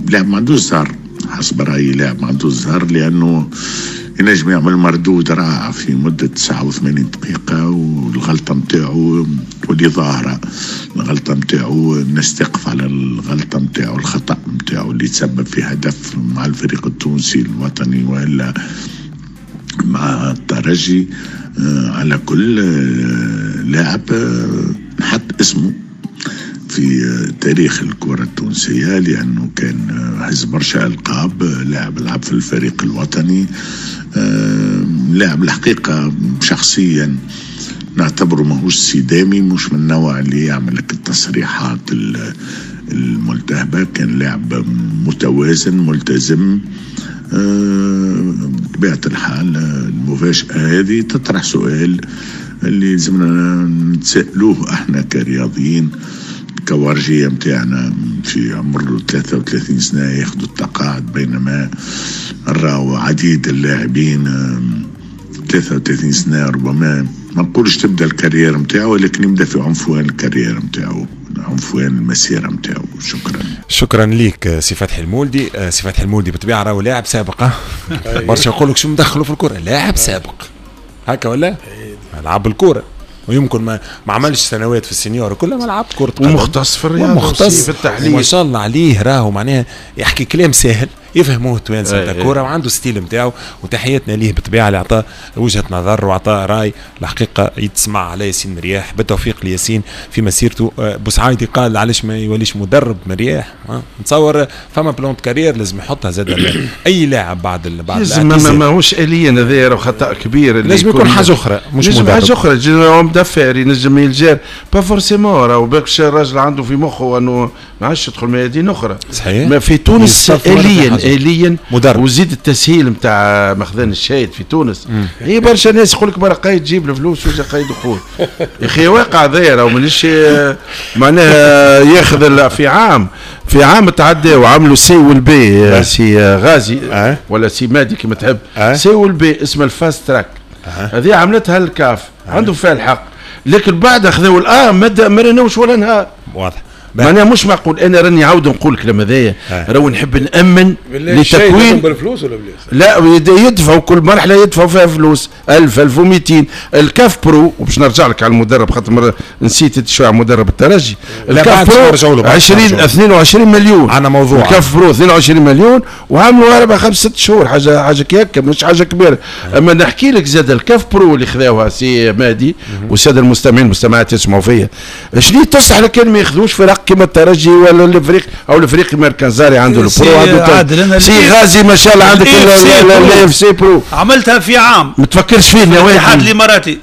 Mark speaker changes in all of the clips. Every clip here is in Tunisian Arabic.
Speaker 1: لاعب ما عندوش زهر، حسب رايي لاعب ما عندوش زهر، لانه ينجم يعمل مردود رائع في مدة 89 دقيقة والغلطة متاعو تولي ظاهرة، الغلطة متاعو الناس تقف على الغلطة متاعو، الخطأ متاعو اللي تسبب في هدف مع الفريق التونسي الوطني وإلا مع الترجي. على كل لاعب نحط اسمه في تاريخ الكرة التونسية، لأنه كان هز برشا ألقاب، لاعب لعب في الفريق الوطني، لاعب الحقيقة شخصيا نعتبره ماهوش سيدامي، مش من النوع اللي يعمل لك التصريحات الملتهبة، كان لاعب متوازن ملتزم. بطبيعة الحال المفاجأة هذه تطرح سؤال اللي لازمنا نتسألوه احنا كرياضيين، كوارجية متاعنا في عمر 33 سنة ياخذوا التقاعد، بينما نراو عديد اللاعبين 33 سنة ربما ما نقولش تبدا ال carrière متاعو، ولكن يبدا في عنفوان ال carrière متاعو، عنفوان المسيرة متاعو. شكرا.
Speaker 2: شكرا ليك سي فتحي المولدي. سي فتحي المولدي بالطبيعة راهو لاعب سابق، برشا يقول لك شو مدخلوا في الكرة، لاعب سابق هكا ولا؟ لعب الكرة ويمكن ما عملش سنوات في ال senior كلها، ما لعب كرة قدم،
Speaker 3: ومختص في الرياضة
Speaker 2: ومختص
Speaker 3: في التحليل،
Speaker 2: وما شاء الله عليه، راهو معناها يحكي كلام ساهل يفهموه التوانسة نتاع الكورة، وعنده style نتاعو، وتحياتنا ليه بالطبيعة اللي عطاه وجهه نظر وعطاه راي الحقيقة يتسمع على ياسين مرياح. بالتوفيق لياسين في مسيرته. بوسعايدي قال علاش ما يوليش مدرب مرياح، نتصور فما plan carrière لازم يحطها زاد اي لاعب بعد
Speaker 3: لازم، ماهوش اليا هذا خطا كبير،
Speaker 2: لازم يكون حاجة اخرى مش مدرب،
Speaker 3: حاجة اخرى مدافع ينجم يلجار pas forcément، راهو باكش الراجل عنده في مخه انه ما عادش يدخل ميادين اخرى.
Speaker 2: صحيح،
Speaker 3: ما في تونس اليا مدرب، وزيد التسهيل نتاع مخزن الشاهد في تونس. هي برشا ناس يقول لك برا قايد جيب الفلوس وجا قايد خوه، يا اخي واقع هذايا راهو مانيش معناها ياخذ في عام تعدى وعملوا C وال B، سي غازي ولا سي مادي كما تحب، C وال B اسمها ال fast track، هذه عملتها الكاف، عنده فيها الحق، لكن بعد خذوا ال A ما رناوش ولا نهار.
Speaker 2: واضح،
Speaker 3: معناها مش معقول. انا راني عاود نقول الكلام هذايا، راهو نحب نامن لتكوين
Speaker 4: بالفلوس ولا بلاش؟
Speaker 3: لا، يدفعوا كل مرحلة يدفعوا فيها فلوس 1000 1200. الكاف pro، وباش نرجع لك على المدرب خاطر نسيت شوية على مدرب الترجي، الكاف pro 20 22 مليون،
Speaker 2: عندنا موضوع
Speaker 3: الكاف pro 22 مليون وعملوا 4 5 6 شهور، حاجة كي هكا مش حاجة كبيرة. اما نحكي لك زاد الكاف pro اللي خذاوها سي مادي والسادة المستمعين والمستمعات يسمعوا فيا، شنو تصلح لكان ما ياخذوش فرق كما الترجي ولا الافريق او الافريقي مركزاري عنده ال pro، عنده سي غازي ما شاء الله عندك ال FC pro،
Speaker 5: عملتها في عام
Speaker 3: ما تفكرش فيه
Speaker 5: الاتحاد الاماراتي.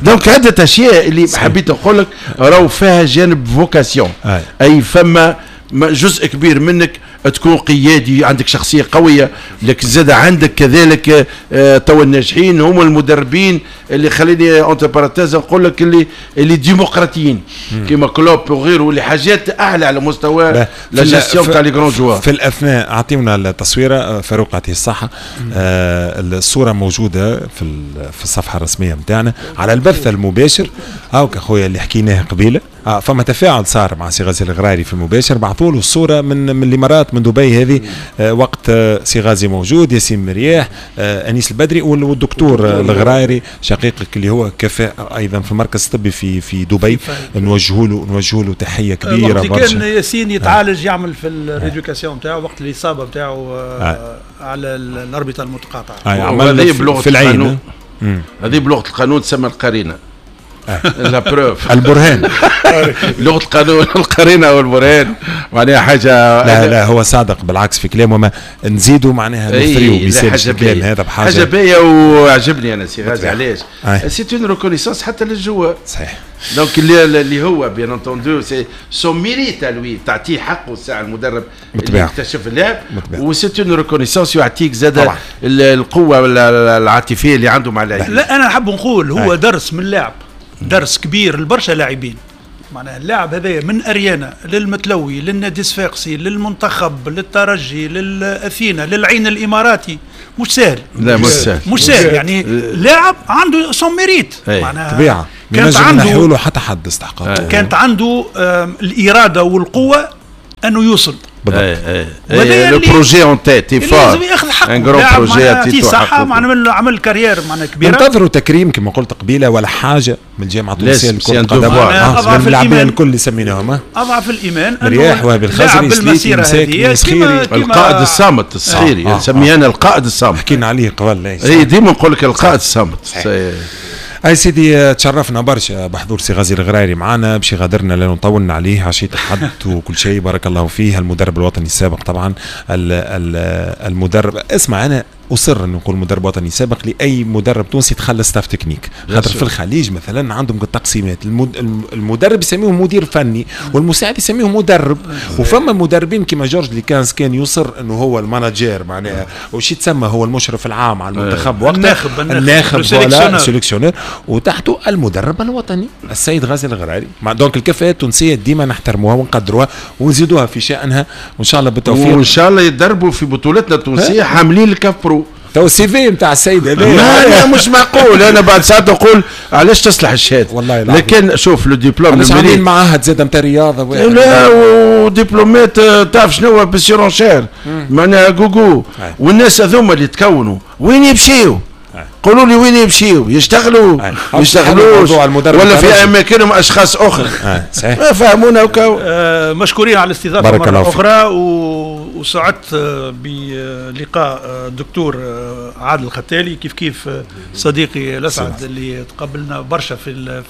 Speaker 3: donc عده اشياء اللي حبيت نقول لك راهو فيها جانب vocation، اي فما جزء كبير منك تكون قيادي، عندك شخصية قوية، لكن زاد عندك كذلك تو الناجحين هم المدربين اللي خليني entre parenthèses نقول لك اللي ديمقراطيين كيما كلوب وغيره، اللي حاجات اعلى على مستوى la gestion تاع les grands joueurs.
Speaker 2: في الاثناء اعطيونا التصويره فاروق يعطيه الصحة. الصورة موجودة في الصفحة الرسمية نتاعنا على البث المباشر. هاوك اخويا اللي حكيناه قبيلة، فما تفاعل صار مع سي غازي الغرايري في المباشر، بعثوا له الصورة من الامارات من دبي هذه، وقت سي غازي موجود، ياسين مرياح، انيس البدري والدكتور الغرايري شقيقك اللي هو كفاء ايضا في المركز الطبي في دبي، نوجهوا له تحية كبيرة برشا.
Speaker 5: كان ياسين يتعالج يعمل في ال rééducation نتاعو وقت الاصابة نتاعو على الاربطه المتقاطعه.
Speaker 2: عمل في العين،
Speaker 3: هذه بلغه القانون تسمى القرينة، la preuve،
Speaker 2: البرهان.
Speaker 3: لغة القانون القرينة والبرهان معناها حاجة.
Speaker 2: لا هو صادق بالعكس في كلامه، ما نزيدوا معناها نثريو بيسالش الكلام هذا بحاجة
Speaker 3: حاجة باهيه وعجبني انا سي غازي. علاش؟ c'est une reconnaissance حتى لل joueur.
Speaker 2: صحيح.
Speaker 3: donc اللي هو bien entendu c'est son mérite lui، تعطيه حقه الساعة المدرب اللي اكتشف اللاعب، و c'est une reconnaissance يعطيك زاد القوة العاطفية اللي عنده مع اللاعب.
Speaker 5: لا انا نحب نقول هو درس من اللاعب، درس كبير لبرشا لاعبين. معناها اللاعب هذايا من اريانا للمتلوي للنادي الصفاقسي للمنتخب للترجي للاثينا للعين الاماراتي، مش سهل.
Speaker 3: لا مش سهل،
Speaker 5: مش سهل. يعني لاعب عنده son mérite،
Speaker 2: معناها طبيعة كانت عنده حتى حد استحقاق،
Speaker 5: كانت عنده الارادة والقوه انه يوصل.
Speaker 2: بالضبط.
Speaker 3: le projet en tête fort،
Speaker 5: لازم ياخذ حقه، un grand projet صحة، معناها عمل carrière معناها كبيرة.
Speaker 2: ننتظروا تكريم كما قلت قبيلة ولا حاجة من الجامعة التونسية لكرة القدم، اضعف اللاعبين الكل اللي سميناهم
Speaker 5: اضعف الايمان،
Speaker 2: مرياح، وهبي الخزري، سليتي، مساكني،
Speaker 3: سخيري، القائد الصامت السخيري، نسميه انا القائد الصامت،
Speaker 2: حكينا عليه قبل.
Speaker 3: اي ديما نقول لك القائد الصامت.
Speaker 2: اي سيدي، تشرفنا برشا بحضور سي غازي الغرايري معنا، باش يغادرنا لانه طولنا عليه عشية الحد وكل شيء، بارك الله فيه، المدرب الوطني السابق طبعا، المدرب، اسمع انا اصر ان نقول مدرب وطني سابق لاي مدرب تونسي دخل staff technique، خاطر في الخليج مثلا عندهم التقسيمات، المدرب يسميه مدير فني والمساعد يسميه مدرب، وفما مدربين كما جورج ليكانز كان يصر انه هو ال manager معناها، وش يتسمى هو المشرف العام على المنتخب وقتها، الناخب voilà sélectionneur، وتحته المدرب الوطني السيد غازي الغراري. donc الكفاءات التونسية ديما نحترموها ونقدروها ونزيدوها في شأنها، وان شاء الله بالتوفيق،
Speaker 3: وان شاء الله يتدربوا في بطولتنا التونسية حاملين ال CAF Pro.
Speaker 2: تو ال CV نتاع السيد هذا
Speaker 3: لا مش معقول. انا بعد ساعات نقول علاش تصلح الشهادة
Speaker 2: والله،
Speaker 3: لكن شوف le diplôme
Speaker 2: عاملين معاهد زاد نتاع رياضة،
Speaker 3: لا ودبلومات تعرف شنو بال surenchère معناها جوجو، والناس هذوما اللي تكونوا وين يمشيو؟ قولوا لي وين يمشيو؟ يشتغلوا يشتغلوش ولا في اماكنهم اشخاص اخرى؟
Speaker 2: صحيح،
Speaker 3: ما فهمونا وكاو.
Speaker 5: مشكورين على الاستضافة مرة اخرى، وسعدت بلقاء الدكتور عادل الختالي، كيف كيف صديقي الاسعد اللي تقابلنا برشا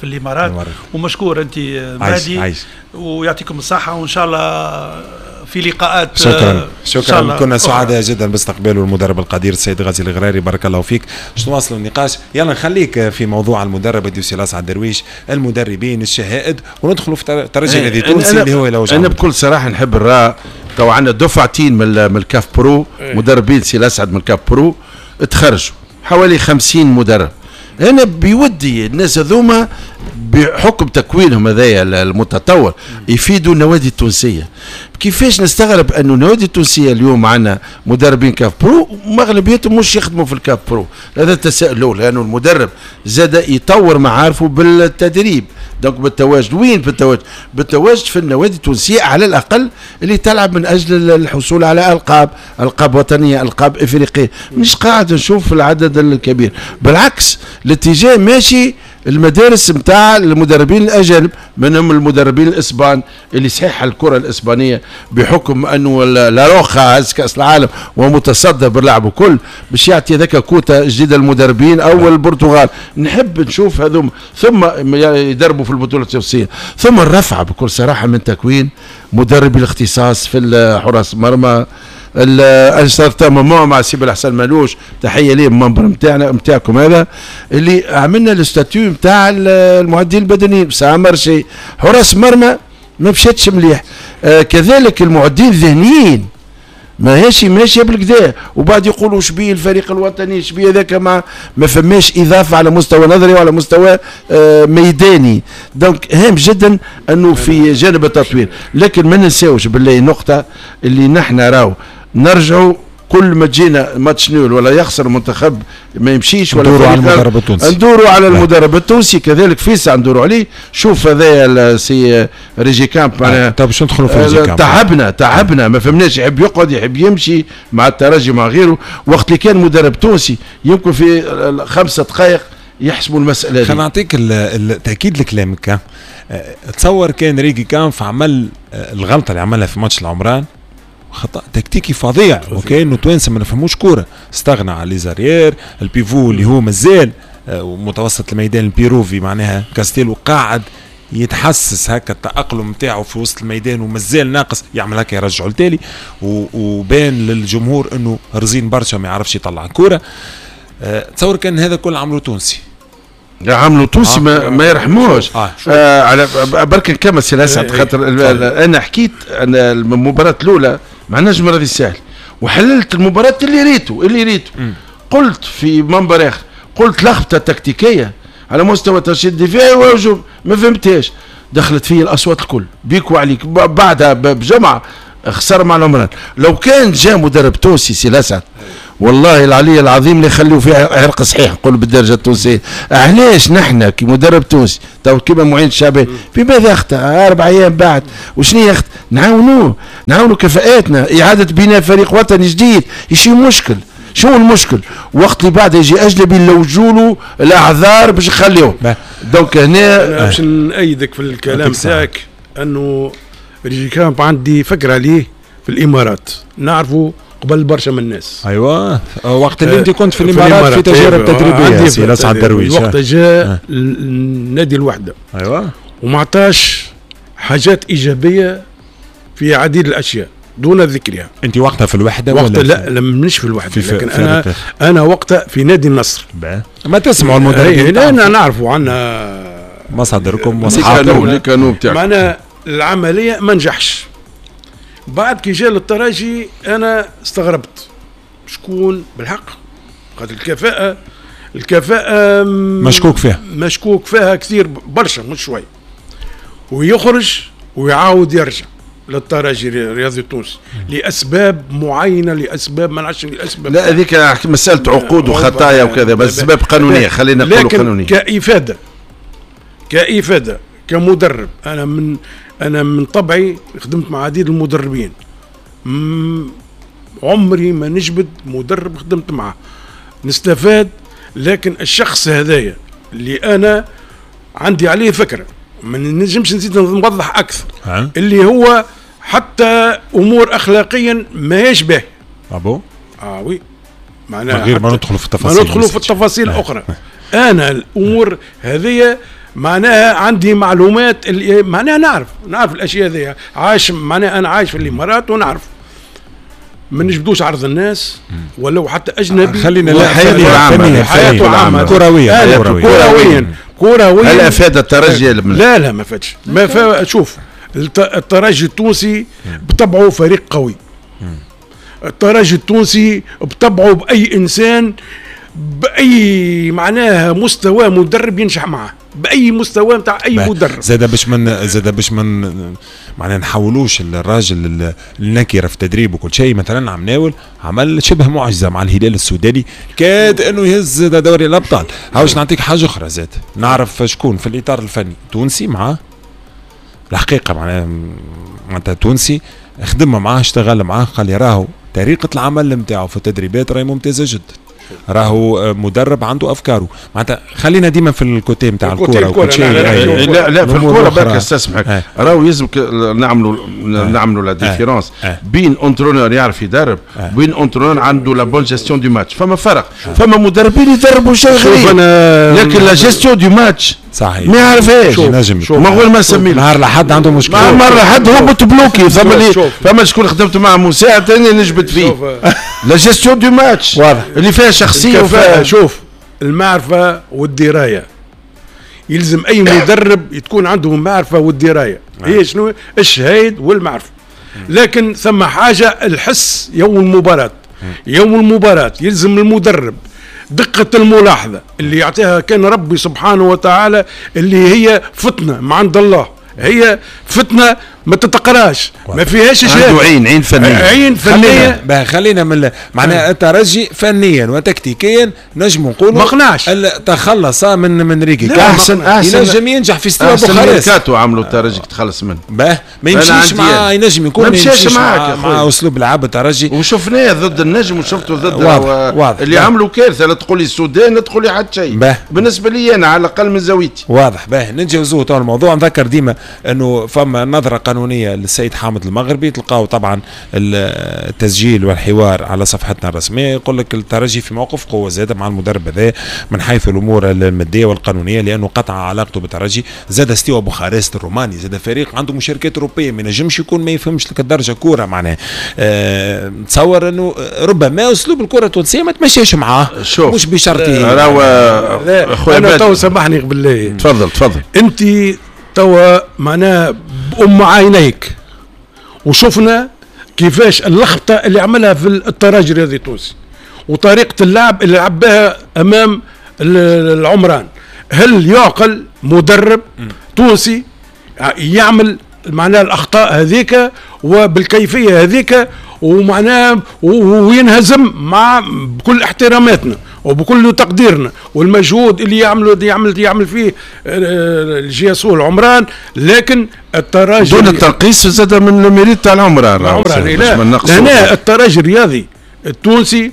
Speaker 5: في الامارات، ومشكور انت مهدي، ويعطيكم الصحة، وان شاء الله في لقاءات.
Speaker 2: شكرا شكرا، كنا سعداء جدا باستقباله المدرب القدير السيد غازي الغراري، بارك الله فيك. باش نواصلوا النقاش، يلا نخليك في موضوع المدرب ديوسي الاسعد درويش، المدربين، الشهائد، وندخلوا في ترجي النادي التونسي اللي هو
Speaker 3: لو انا بكل صراحة نحب الراء. تو عندنا دفعتين من ال CAF Pro، مدربين سي الاسعد من ال CAF Pro تخرجوا حوالي 50 مدرب. انا بودي الناس هذوما بحكم تكوينهم هذايا المتطور يفيدوا النوادي التونسية. كيفاش نستغرب انه النوادي التونسية اليوم عندنا مدربين CAF Pro ومغلبيتهم مش يخدموا في ال CAF Pro؟ هذا التساؤل الاول، لانه المدرب زاد يطور معارفه بالتدريب، donc بالتواجد. وين بالتواجد؟ بالتواجد في النوادي التونسية على الاقل اللي تلعب من اجل الحصول على القاب، القاب وطنية، القاب افريقية. مش قاعد نشوف العدد الكبير، بالعكس الاتجاه ماشي المدارس نتاع المدربين الاجانب، منهم المدربين الاسبان اللي صحيح الكره الاسبانية بحكم انه لاروخا هز كاس العالم ومتصدر باللعب وكل، باش يعطي ذاك كوتا جديدة للمدربين او البرتغال. نحب نشوف هذوم ثم يدربوا في البطولة التونسية، ثم الرفعة بكل صراحة من تكوين مدربي الاختصاص في حراس المرمى. un certain moment مع سي بالحسن مالوش، تحية ليه المنبر نتاعنا نتاعكم هذا اللي عملنا ال statut نتاع المعدين البدنيين، ça a marché. حراس مرمى ما مشاتش مليح، كذلك المعدين الذهنيين ماهيش ماشية بالكدا، وبعد يقولوا شبيه الفريق الوطني شبيه هذاك، ما فماش اضافه على مستوى نظري وعلى مستوى ميداني. donc هام جدا انه في جانب التطوير، لكن ما ننساوش بالله نقطة اللي نحن راهو نرجعوا كل ما تجينا match nul ولا يخسر المنتخب ما يمشيش ولا
Speaker 2: ندوروا على المدرب التونسي،
Speaker 3: ندوروا على المدرب التونسي كذلك فيسع ندوروا عليه. شوف هذايا سي ريجيكامب معناها،
Speaker 2: طيب باش ندخلوا في ريجيكامب،
Speaker 3: تعبنا ما فهمناش، يحب يقعد يحب يمشي مع الترجي مع غيره. وقت اللي كان مدرب تونسي يمكن في 5 دقائق يحسبوا المسألة دي.
Speaker 2: خلينا نعطيك التأكيد لكلامك. تصور كان ريجيكامب عمل الغلطة اللي عملها في ماتش العمران، خطأ تكتيكي فظيع، وكأنه توانسة ما نفهموش كورة، استغنى على les arrières، ال pivot اللي هو مازال متوسط الميدان البيروفي معناها كاستيلو قاعد يتحسس هكا التأقلم نتاعو في وسط الميدان ومازال ناقص، يعمل هكا يرجعه لتالي، وبان للجمهور انه رزين برشا ما يعرفش يطلع كورة. تصور كان هذا كل عملو تونسي،
Speaker 3: عملوا تونسي ما يرحموش. على برك نكمل سي الاسعد، خاطر انا حكيت انا المباراة الاولى مع نجم رياضي الساحل وحللت المباراة اللي ريته قلت في منبر اخر، قلت لخبطة تكتيكية على مستوى الترشيد الدفاعي والهجوم ما فهمتهاش، دخلت فيه الاصوات الكل بيك وعليك. بعدها بجمعه خسر مع العمران. لو كان جاء مدرب تونسي سي الاسعد والله العلي العظيم اللي يخليوا فيها عرق صحيح، نقول بالدرجة التونسية. علاش نحن كمدرب تونسي تو كيما معين الشعباني في ماذا اخطا 4 ايام بعد وشنو يخطا؟ نعاونوه، نعاونوا كفاءاتنا، اعاده بناء فريق وطني جديد. ايش المشكل؟ شو المشكل؟ وقت اللي بعد يجي اجنبي نلوجوا له الاعذار باش نخليوه. donc هنا
Speaker 4: انا باش نأيدك في الكلام تاعك انه ريجيكامب عندي فكرة عليه في الامارات، نعرفه قبل برشا من الناس.
Speaker 2: ايوه وقت اللي انت كنت في الامارات في تجارب تدريبية سي لسعد درويش،
Speaker 4: وقت جاء النادي الوحدة.
Speaker 2: ايوه
Speaker 4: وما عطاش حاجات ايجابية في عديد الاشياء دون ذكرها.
Speaker 2: انت وقتها في الوحدة
Speaker 4: وقت ولا؟ لا لا مش في الوحدة، في لكن في انا وقتها في نادي النصر.
Speaker 2: ما تسمعوا المدربين؟
Speaker 4: لا نعرفوا عندنا
Speaker 2: مصادركم واصحابكم.
Speaker 4: معناها العملية ما نجحش. بعد كي جاء للترجي انا استغربت شكون بالحق، خاطر الكفاءة
Speaker 2: مشكوك فيها،
Speaker 4: مشكوك فيها كثير برشا مش شوي. ويخرج ويعاود يرجع للترجي الرياضي التونسي لاسباب معينة، لاسباب ما نعرفش الاسباب.
Speaker 3: لا هذيك مسالة عقود وخطايا وكذا، بس اسباب قانونية خلينا نقولوا قانونية.
Speaker 4: كإفاده كمدرب، انا من طبعي خدمت مع عديد المدربين، عمري ما نجبد مدرب خدمت معه نستفاد، لكن الشخص هذايا اللي انا عندي عليه فكرة ما نجمش نزيد نوضح اكثر، اللي هو حتى امور اخلاقيا ماهيش باهيه.
Speaker 2: ابو
Speaker 4: oui
Speaker 2: معناها غير ما ندخلوا في التفاصيل،
Speaker 4: ما ندخلوا في التفاصيل الاخرى. انا الامور هذه معناها عندي معلومات اللي معناها نعرف الاشياء هذه، عايش معناها انا عايش في الامارات ونعرف. ما نجبدوش عرض الناس ولو حتى اجنبي.
Speaker 2: خلينا لا حياته العامة كرويا
Speaker 4: كرويا.
Speaker 3: هل افاد الترجي؟
Speaker 4: لا لا ما فادش. ما شوف الترجي التونسي بطبعه فريق قوي. الترجي التونسي بطبعه باي انسان باي معناها مستوى مدرب ينجح معه، باي مستوى نتاع اي مدرب.
Speaker 2: زاد باش من معناها نحولوش الراجل النكرة في التدريب وكل شيء. مثلا عمناول عمل شبه معجزه مع الهلال السوداني، كاد انه يهز دوري الابطال. هاوش نعطيك حاجة اخرى زاد، نعرف شكون في الاطار الفني تونسي معاه الحقيقة، معناتها تونسي خدم معاه اشتغل معاه، قال لي راهو طريقه العمل نتاعو في التدريبات راهي ممتازة جدا، راهو مدرب عنده افكاره. معناتها خلينا ديما في ال côté نتاع الكورة وكل شيء.
Speaker 3: لا لا في الكورة برك استسمحك، راهو يلزم نعملوا la différence بين entraîneur يعرف يدرب بين entraîneur عنده la bonne gestion du match. فما فرق، فما مدربين يدربوا شيء غريب، لكن la gestion du match
Speaker 2: صحيح
Speaker 3: ما يعرفهاش. ما غير ما نسميه
Speaker 2: نهار لحد عنده مشكلة،
Speaker 3: نهار لحد هو متبلوكي. فما شكون خدمت معه مساعد ثاني نجبد فيه la gestion du match اللي فيها شخصية وفيها.
Speaker 4: شوف المعرفة والدراية، يلزم اي مدرب تكون عنده معرفة والدراية. هي شنو الشهايد والمعرفة، لكن ثم حاجة الحس يوم المباراة. يوم المباراة يلزم المدرب دقة الملاحظة اللي يعطيها كان ربي سبحانه وتعالى، اللي هي فتنة من عند الله، هي فتنة ما تتقراش، ما فيهاش شيء.
Speaker 3: عنده عين فنية،
Speaker 4: عين فنية.
Speaker 2: خلينا من معناها الترجي فنيا وتكتيكيا نجم نقولوا
Speaker 4: ما قنعش،
Speaker 2: تخلص من ريكي.
Speaker 3: احسن
Speaker 2: ينجم ينجح في ستيل بوخارست.
Speaker 3: ميركاتو عملوا الترجي تخلص منه،
Speaker 2: ما يمشيش مع، ينجم يكون
Speaker 3: ما يمشيش معاك
Speaker 2: مع اسلوب لعب الترجي،
Speaker 3: وشفناه ضد النجم وشفته ضد واضح. اللي عملوا كارثة، لا تقول لي السودان لا تقول لي حتى شيء بالنسبة لي انا على الاقل من زاويتي.
Speaker 2: واضح. باه نتجاوزوه تو الموضوع. نذكر ديما انه فما نظره قانونية للسيد حامد المغربي، تلقاو طبعا التسجيل والحوار على صفحتنا الرسمية. يقول لك الترجي في موقف قوة زاد مع المدرب هذا من حيث الامور المادية والقانونيه، لانه قطع علاقته بالترجي. زاد ستيوا بوخارست الروماني، زاد فريق عنده مشاركات اوروبية، ما ينجمش يكون ما يفهمش لك الدرجة كورة. معناه نتصور انه ربما اسلوب الكره التونسية ما تمشيش معاه، مش بشرطه.
Speaker 3: راهو
Speaker 4: انا تو سامحني بالله.
Speaker 3: تفضل تفضل.
Speaker 4: انت توا معناها بأم عينيك وشفنا كيفاش اللخبطة اللي عملها في الترجي الرياضي التونسي وطريقه اللعب اللي لعب بها امام العمران. هل يعقل مدرب تونسي يعمل معناها الاخطاء هذيك وبالكيفيه هذيك ومعناه وينهزم مع بكل احتراماتنا وبكل تقديرنا والمجهود اللي يعمل فيه ال JSO العمران، لكن الترجي
Speaker 3: دون التنقيص زاد من ال mérite تاع العمران.
Speaker 4: هنا الترجي الرياضي التونسي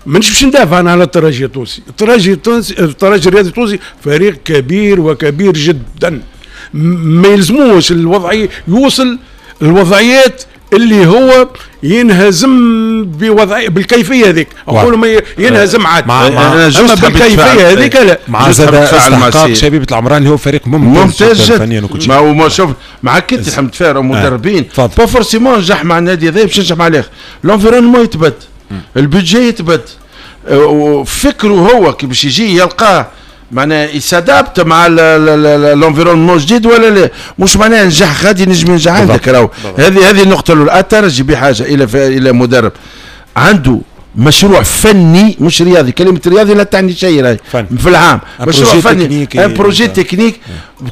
Speaker 4: مانيش باش ندافع انا على الترجي التونسي، الترجي التونسي، الترجي الرياضي التونسي فريق كبير وكبير جدا، ما يلزموش الوضعية يوصل الوضعيات اللي هو ينهزم بوضعيه بالكيفية هذيك، اقول ما ينهزم عاد اما بالكيفية هذيك لا.
Speaker 2: مع زاد استحقاق شبيبة العمران اللي هو فريق ممتاز جدا فنيا وكل شيء.
Speaker 3: ما شوف معك انت حمد فارع ومدربين pas forcément نجح مع النادي هذا باش ينجح مع الاخر، l'environnement يتبدل، ال budget يتبدل، فكرة هو كي باش يجي يلقاه معناها ي s'adapte مع l'environnement جديد ولا لا، مش معناها نجح غادي نجم ينجح عندك. راهو هذه النقطة الاولى. الترجي بحاجة الى مدرب عنده مشروع فني مش رياضي، كلمة رياضي لا تعني شيء راهي في العام، مشروع فني، un projet technique،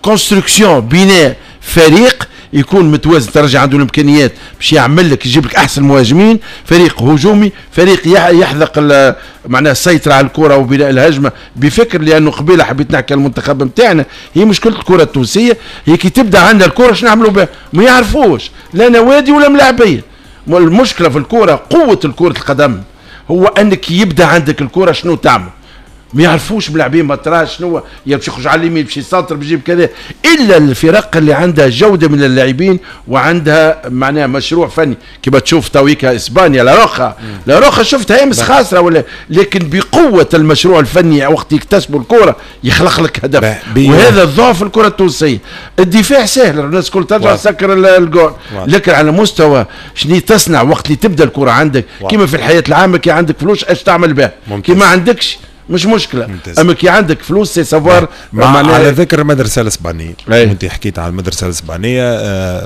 Speaker 3: construction، بناء فريق يكون متوازن. الترجي عنده الامكانيات باش يعمل لك، يجيب لك احسن مهاجمين، فريق هجومي، فريق يحذق معناها السيطرة على الكره وبناء الهجمة بفكر. لانه قبيلة حبيت نحكي على المنتخب نتاعنا، هي مشكلة الكره التونسية هي كي تبدا عندنا الكره شنو نعملوا بها؟ ما يعرفوش لا نوادي ولا ملاعبيه. المشكلة في الكره، قوة الكره القدم هو انك يبدا عندك الكره شنو تعمل، ما يعرفوش ملاعبين ما تراش شنو، يا باش يخرج على اليمين باش يسنطر باش يجيب كذا، الا الفرق اللي عندها جوده من اللاعبين وعندها معناها مشروع فني. كما تشوف تويكا اسبانيا La Roja، La Roja شفتها امس خاسرة ولا، لكن بقوة المشروع الفني وقت يكتسبوا الكره يخلق لك هدف. وهذا الضعف الكره التونسية. الدفاع سهل، الناس الكل ترجع تسكر الجول، لكن على مستوى شنو تصنع وقت اللي تبدا الكره عندك، كما في الحياة العامة كي عندك فلوس اش تعمل بها، كي ما عندكش مش مشكلة. ممتاز. اما كي عندك فلوس c'est savoir.
Speaker 2: على ذكر المدرسة الاسبانية، وانت حكيت على المدرسة الاسبانية،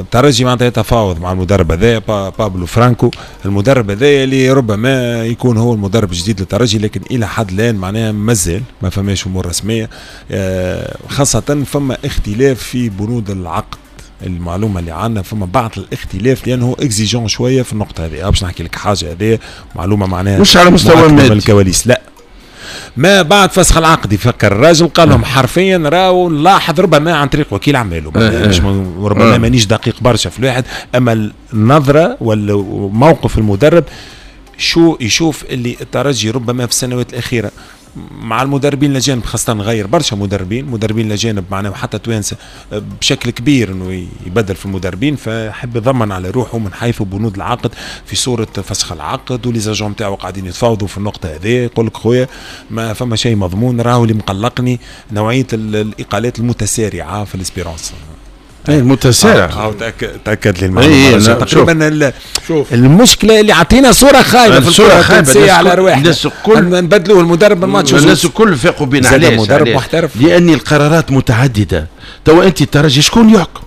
Speaker 2: الترجي معناتها يتفاوض مع المدرب هذا بابلو فرانكو، المدرب هذا اللي ربما يكون هو المدرب الجديد للترجي، لكن الى حد الان معناها مازال ما فماش امور رسمية، خاصة فما اختلاف في بنود العقد. المعلومة اللي عندنا فما بعض الاختلاف لانه exigeant شوية في النقطة هذه. باش نحكي لك حاجة، هذه معلومة معناها
Speaker 3: مش على مستوى
Speaker 2: الكواليس، لا ما بعد فسخ العقد يفكر الراجل قال لهم حرفيا راهو نلاحظ ربما عن طريق وكيل اعماله، مش ربما مانيش دقيق برشا في الواحد، اما النظرة ولا موقف المدرب شو يشوف اللي الترجي ربما في السنوات الاخيرة مع المدربين الاجانب، خاصة غير برشا مدربين الاجانب معناها حتى توانسة بشكل كبير انه يبدل في المدربين، فحب يضمن على روحه من حيث بنود العقد في صوره فسخ العقد، و les agents نتاعو قاعدين يتفاوضوا في النقطة هذه. يقول لك خويا ما فما شيء مضمون، راهو اللي مقلقني نوعية الاقالات المتسارعه في ال Espérance.
Speaker 3: اي المتسارع.
Speaker 2: تاكد لي المعلومة تقريبا. المشكلة اللي عطينا صوره خايبة في الصورة التونسية على رواحنا،
Speaker 3: الناس الكل
Speaker 2: نبدلوه المدرب الماتش،
Speaker 3: الناس الكل فاقوا بينا. علاش؟
Speaker 2: مدرب محترف،
Speaker 3: لان القرارات متعددة. توا انت الترجي شكون يحكم؟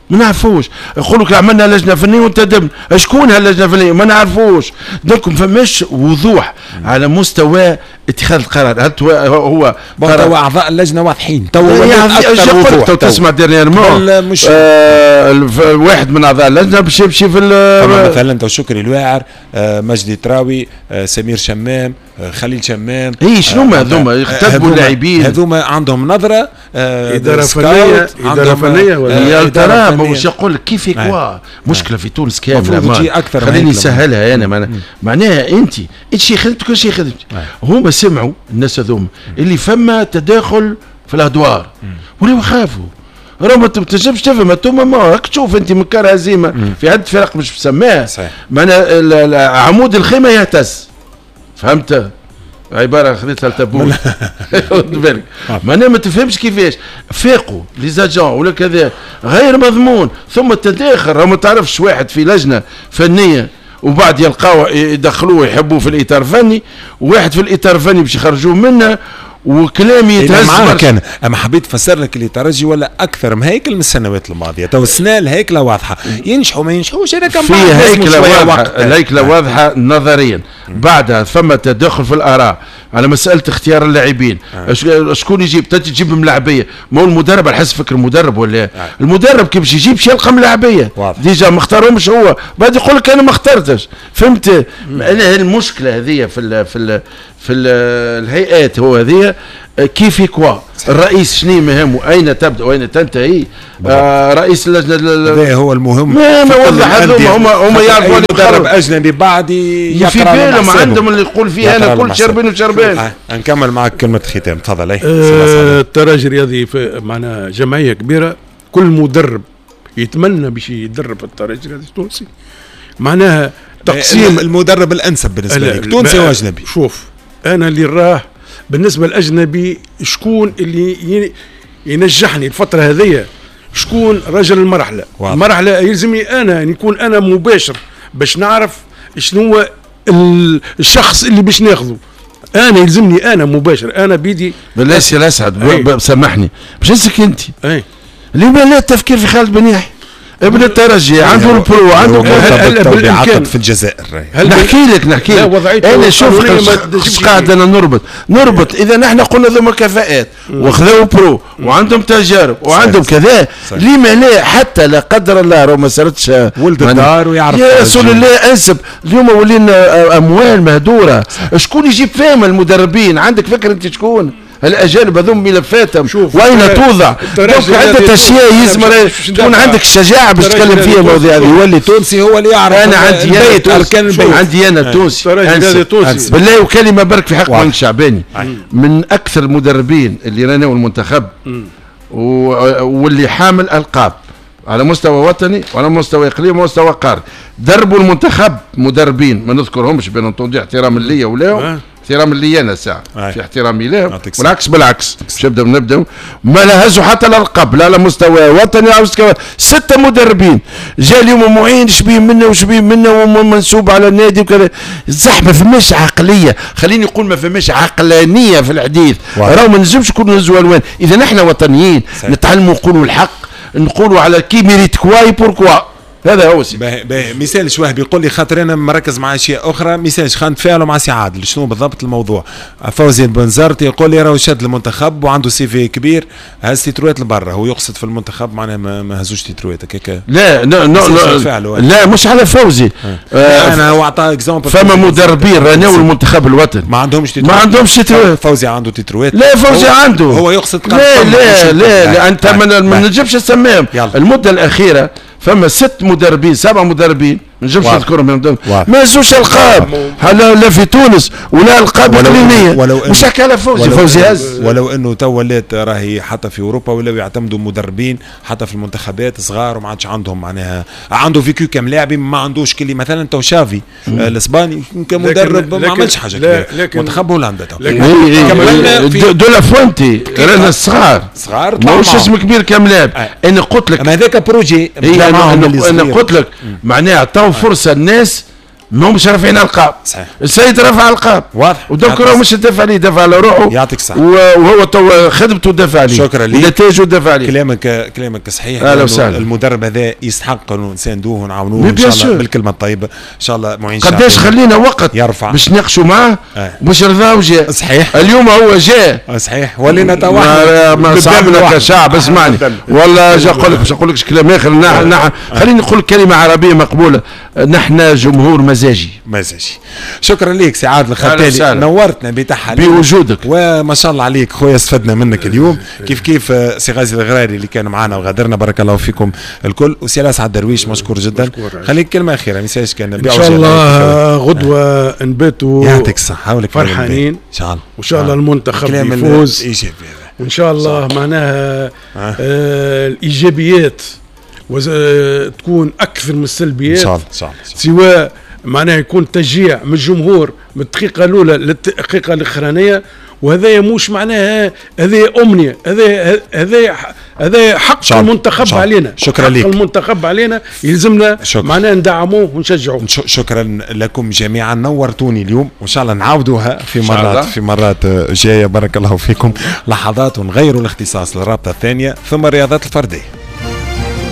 Speaker 3: ما نعرفوش. يقول لك عملنا لجنة فنية وانتدبنا، شكون هاللجنه الفنية؟ ما نعرفوش. donc ما فماش وضوح على مستوى اتخاذ القرار. هل هو
Speaker 2: توا اعضاء اللجنة واضحين توا
Speaker 3: اكثر وضوح. تو تسمع dernièrement مش واحد من اعضاء اللجنة باش يمشي في
Speaker 2: مثلا تو شكري الواعر، مجدي تراوي، سمير شمام، خليل شمام.
Speaker 3: اي شنو هما هذوما؟ يختبوا اللاعبين
Speaker 2: هذوما عندهم نظره
Speaker 4: ادارة فنية، ادارة فنية
Speaker 3: ولا ترى مش يقول لك كيف كوا مشكلة في تونس كاملة. خليني نسهلها انا معناها انت شي خدمتك شي خدمتك. هما سمعوا الناس هذوما اللي فما تداخل في الادوار ولاو خافوا. راه ما تنجمش تفهم انتم، ما راك تشوف انت من كار هزيمة في عده فرق مش مسماها، معناها عمود الخيمة يهتز. فهمت؟ عبارة خذيتها لتبون خد بالك، معناها ما تفهمش كيفاش فاقوا les agents ولا كذا غير مضمون. ثم التداخل، راه ما تعرفش واحد في لجنة فنية وبعد يلقاو يدخلوه يحبوه في الاطار الفني، وواحد في الاطار الفني باش يخرجوه منه، وكلام يتهز.
Speaker 2: معاك انا، اما حبيت نفسر لك اللي ترجي ولا اكثر مهيكل من السنوات الماضية. تو السنة الهيكله واضحة، ينجحوا ما ينجحوش هذا كان
Speaker 3: في هيكله واضحة، الهيكله واضحة نظريا. بعدها ثم تدخل في الاراء على مسالة اختيار اللاعبين. شكون يجيب؟ تجيب ملاعبيه، ما هو المدرب على حسب فكر المدرب ولا المدرب كيف باش يجيب يلقى ملاعبيه déjà ما اختارهمش هو، بعد يقول لك انا ما اخترتش. فهمت؟ انا المشكلة هذه في في في الهيئات هو هذه كيف quoi الرئيس شنو مهمة، اين تبدا واين تنتهي؟ رئيس اللجنة
Speaker 2: هذا هو المهم.
Speaker 3: ما وضح هذوما هما يعرفوا
Speaker 2: مدرب اجنبي بعد
Speaker 3: يقرا في بالهم عندهم اللي يقول فيه انا كل شربين وشربين.
Speaker 2: نكمل معك كلمة ختام، تفضل.
Speaker 4: الترجي الرياضي معنا جمعية كبيرة، كل مدرب يتمنى باش يدرب الترجي الرياضي التونسي، معناها تقسيم
Speaker 2: المدرب الانسب بالنسبة لك تونسي واجنبي.
Speaker 4: شوف انا اللي راه بالنسبة للاجنبي شكون اللي ينجحني الفترة هذيا، شكون رجل المرحلة. واضح. المرحلة يلزمني انا نكون انا مباشر باش نعرف شنو هو الشخص اللي باش ناخذه. انا يلزمني انا مباشر، انا بيدي.
Speaker 3: بالله سي الاسعد سامحني باش نسك انت. لما لا التفكير في خالد بن يحيى ابن الترجي، عنده ال pro، عنده
Speaker 2: بالامكان في الجزائر.
Speaker 3: نحكي لك انا شوف قاعد انا نربط اذا نحن قلنا ذوما كفاءات وخذوا pro وعندهم تجارب وعندهم كذا، لما لا حتى لا قدر الله راه ما صارتش
Speaker 2: ولد الدار ويعرف
Speaker 3: يا رسول الله انسب. اليوم ولينا اموال مهدوره، شكون يجيب فيهم المدربين؟ عندك فكرة انت شكون؟ الاجانب هذوم ملفاتهم وين توضع؟ donc عده اشياء يلزم تكون عندك الشجاعة باش تتكلم فيها المواضيع هذه.
Speaker 2: يولي تونسي هو اللي يعرف.
Speaker 3: انا عندي انا اركان البيت، عندي انا تونسي بالله. وكلمه برك في حق معين الشعباني، من اكثر المدربين اللي راناو المنتخب واللي حامل القاب على مستوى وطني وعلى مستوى اقليمي ومستوى قاري، دربوا المنتخب مدربين ما نذكرهمش bien entendu احتراما ليا ولاهم احترام لي انا ساعة في احترامي لهم، والعكس بالعكس. باش نبدا ما لا هزوا حتى الالقاب لا على مستوى وطني على مستوى. 6 مدربين جا اليوم معين شبيه منا وشبيه منا ومنسوب على النادي وكذا. صح ما فماش عقلية، خليني نقول ما فماش عقلانية في الحديث. راهو ما نجمش نكونوا نهزوا الوان. اذا نحن وطنيين نتعلموا نقولوا الحق، نقولوا على qui mérite quoi pourquoi. هذا هو سي.
Speaker 2: باهي مثال وهبي يقول لي خاطر انا مركز مع اشياء اخرى، مثال خلينا نتفاعلوا مع سي عادل شنو بالضبط الموضوع. فوزي البنزرتي يقول لي راهو شاد المنتخب وعنده CV كبير، هز تيتروات لبرا، هو يقصد في المنتخب معناها ما هزوش تيتروات هكاك.
Speaker 3: لا لا لا لا مش على فوزي.
Speaker 2: انا هو عطى exemple.
Speaker 3: فما مدربين راناو المنتخب الوطني
Speaker 2: ما عندهمش تيتروات،
Speaker 3: ما عندهمش تيتروات.
Speaker 2: فوزي عنده تيتروات.
Speaker 3: لا فوزي عنده،
Speaker 2: هو يقصد
Speaker 3: لا لا لا, لا انت ما نجمش نسميهم. المدة الاخيرة فما 6 مدربين 7 مدربين ما نجمش نذكرهم ما هزوش القاب لا في تونس ولا القاب اقليمية. مش حكى على فوزي، فوزي هز.
Speaker 2: ولو انه تو ولات راهي حتى في اوروبا ولاو يعتمدوا مدربين حتى في المنتخبات صغار وما عادش عندهم معناها عنده vécu كملاعب ما عندوش كلي مثلا تو شافي الاسباني كمدرب ما عملش حاجة كبيرة. منتخب هولندا تو
Speaker 3: دو لا فوانتي رانا صغار صغار ماهوش اسم كبير كملاعب. انا قلت لك
Speaker 2: هذاك projet.
Speaker 3: انا قلت لك معناها تو فرصة الناس ماهمش رافعين القاب.
Speaker 2: صحيح.
Speaker 3: السيد رفع القاب
Speaker 2: واضح،
Speaker 3: و donc راه مش دافع عليه، دافع على روحه.
Speaker 2: يعطيك الصحة.
Speaker 3: وهو تو خدمته دافع عليه.
Speaker 2: شكرا لك.
Speaker 3: نتائجه دافع عليه.
Speaker 2: كلامك صحيح.
Speaker 3: اهلا وسهلا.
Speaker 2: المدرب هذا يستحق انه نساندوه ونعاونوه ان شاء الله بالكلمة الطيبة ان شاء الله. معين
Speaker 3: قداش خلينا وقت
Speaker 2: يرفع
Speaker 3: باش ناقشوا معاه باش رضاه وجاء.
Speaker 2: صحيح.
Speaker 3: اليوم هو جاء.
Speaker 2: صحيح. ولينا تو
Speaker 3: ما صعبنا كشعب. اسمعني والله جا نقول لك باش نقول لك كلام اخر. خليني نقول كلمة عربية مقبولة، نحن جمهور مزاجي.
Speaker 2: مزاجي. شكرا لك سي عادل الختالي، نورتنا بتحاليل
Speaker 3: بوجودك
Speaker 2: وما شاء الله عليك خويا، استفدنا منك اليوم. كيف كيف سي غازي الغراري اللي كان معنا وغادرنا، بارك الله فيكم الكل. وسي الاسعد درويش مشكور جدا. خليك كلمة اخيرة ميساج كان
Speaker 4: ان شاء الله غدوه نباتوا
Speaker 2: يعطيك الصحة
Speaker 4: فرحانين
Speaker 2: ان شاء الله،
Speaker 4: وان شاء الله المنتخب يفوز وان شاء الله معناها الايجابيات تكون اكثر من السلبيات
Speaker 2: ان شاء الله. ان شاء الله
Speaker 4: سواء معناها يكون تشجيع من الجمهور من الدقيقة الاولى للدقيقه الاخرانية، وهذا مش معناها هذه امنية، هذا حق المنتخب علينا.
Speaker 2: شكرا لك.
Speaker 4: حق المنتخب علينا يلزمنا معناها ندعموه ونشجعوه.
Speaker 2: شكرا لكم جميعا، نورتوني اليوم وان شاء الله نعاودوها في مرات جاية. بارك الله فيكم. لحظات ونغيروا الاختصاص للرابطة الثانية ثم الرياضات الفردية.